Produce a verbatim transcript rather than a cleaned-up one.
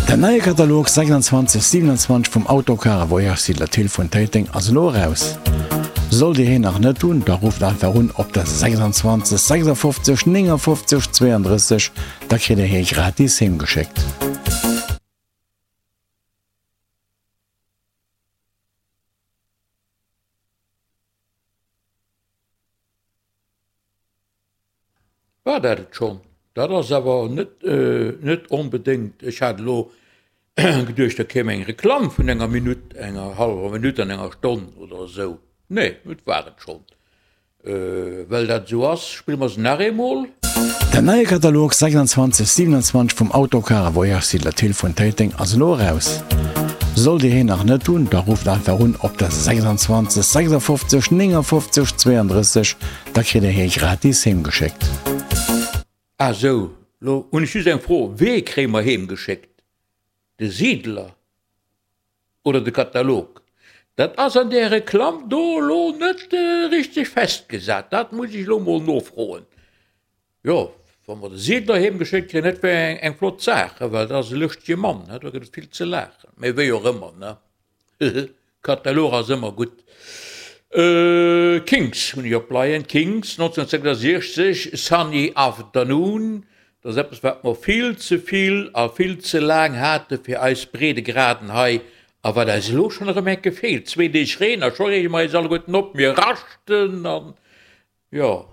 Den neie Katalog sechsundzwanzeg siewenundzwanzeg vum Autocar a Voyage Siedler Thill vun Téiteng ass elo eraus. Sollt Dir hien nach net hunn, da rufft einfach un op der sechsundzwanzeg sechsundfofzeg néngundfofzeg zweiunddrësseg, da kritt Dir hie gratis heem geschéckt. War dat et schonn? Dat ass awer net, net onbedéngt. Ech hat elo geduecht, da kéim eng Reklamm vun enger Minutt, enger hallwer Minutt an enger Stonn oder esou. Nee, et war et schonn. Well dat esou ass, spille mer se nach eemol. Den neie Katalog sechsundzwanzeg siewenundzwanzeg vum Autocar a Voyage Siedler Thill vun Téiteng ass elo eraus. Sollt Dir hien nach net hunn, da rufft einfach un op der sechsundzwanzeg sechsundfofzeg néngundfofzeg zweiunddrësseg, da kritt Dir hie gratis heem geschéckt. Ah sou, lo hunn ech just eng Fro, Wee kréie mer heem geschéckt? De Siedler oder de Katalog? Dat ass an där Reklamm do elo net richteg festgesat, dat muss ech elo mol nofroen. Jo, wa mer de Siedler heem geschéckt kréien, dat wär eng flott Saach, well dat ass e lëschtege Mann, do gëtt et vill ze laachen. Mee wéi och ëmmer, ne? Katalog ass ëmmer gutt. Kinks hunn ech opleien, Kinks nonzénhunnertsechsundsechzeg, Sunny Afternoon, dat ass eppes wat mer vill ze vill a vill ze laang hate fir eis Breedegraden hei a wat eis elo schonn erëm enke feelt. Zwee Deeg Reen a scho reege mer eis alleguerten op, mir raschten an jo.